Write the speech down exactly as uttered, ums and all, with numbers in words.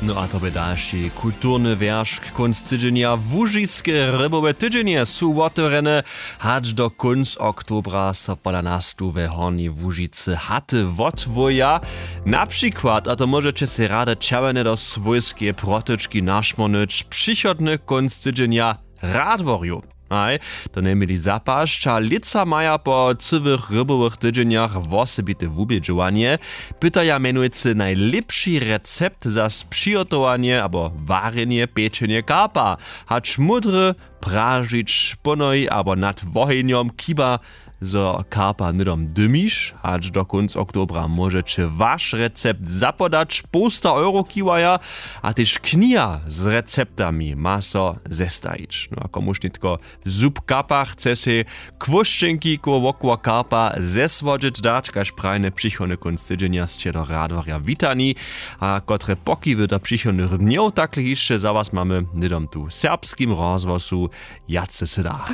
No a to bě dalši kulturny wjeršk. Kónc tydźenja. Łužiske rybowe tydźenje su wotewrjene. Hač do kónc oktobra so pola nas tu we Hornjej Łužicy haty wotwoja. Na přikład, a to móžeće sej rady čerwjene do swójskeje protočki našmórnyć, přichodny kónc tydźenja w Radworju. Haj, to njeměli zapasć a lětsa maja po cyłych rybowych tydźenjach wosebite wubědźowanje. Pytaja mjenujcy najlěpši recept za přihotowanje abo warjenje, pečenje karpa. Hač módry, pražić ponoj abo nad wohenjom, chiba zo karpa hnydom dymiš. Hač do kónc oktobra móžeće waš recept zapodać. Połsta euro chiwaja. A tež kniha z receptami ma so zestajić. No a komuž nětko zub kapa chce sej kłóšćenki koło wokoła karpa zesłodźeć dać, kaž prajne, přichodny kónc tydźenja sće do Radworja witani. A kotre pokiwy do přichodnych dnjow takle hišće za was mamy hnydom tu w Serbskim rozhłosu, wjace sy da.